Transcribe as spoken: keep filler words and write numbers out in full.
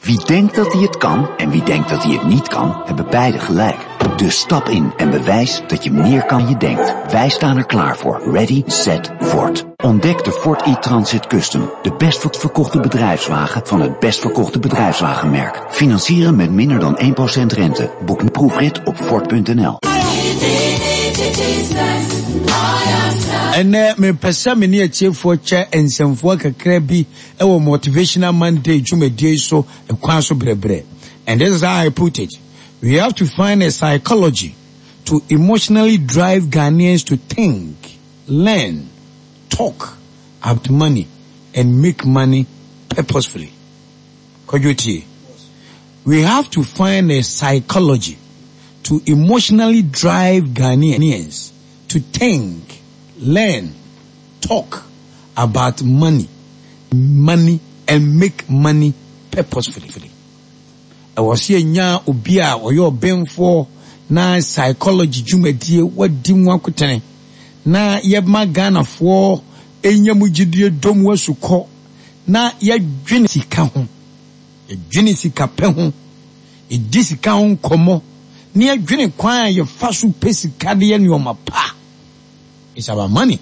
Wie denkt dat hij het kan en wie denkt dat hij het niet kan, hebben beide gelijk. Dus stap in en bewijs dat je meer kan dan je denkt. Wij staan er klaar voor. Ready, set, Ford. Ontdek de Ford e-Transit Custom. De best verkochte bedrijfswagen van het best verkochte bedrijfswagenmerk. Financieren met minder dan één procent rente. Boek een proefrit op Ford punt N L. Ɛnɛ mepɛ sɛ me ne atiefoɔ kyɛ nsɛmfoɔ kakra bi ɛwɔ Motivational Monday dwumadie so ɛkwan so brɛbrɛ. And this is how I put it: we have to find a psychology to emotionally drive Ghanaians to think, learn, talk about money and make money purposefully. Kwadwo, tie. We have to find a psychology to emotionally drive Ghanaians to think, learn, talk about money, money and make money purposefully. Ɛwɔ sɛ yɛnya obi a ɔyɛ ɔbɛnfoɔ na psychology dwumadie wadi mu akotene na yɛma Ghanafoɔ ɛnya mu gyidie dɔm asukɔ na yɛdwene sika ho, yɛdwene sika pɛ ho, yɛdi sika ho nkɔmmɔ na yɛdwene kwan a yɛfa so pɛ sika de yɛ nneɔma pa. It's about money.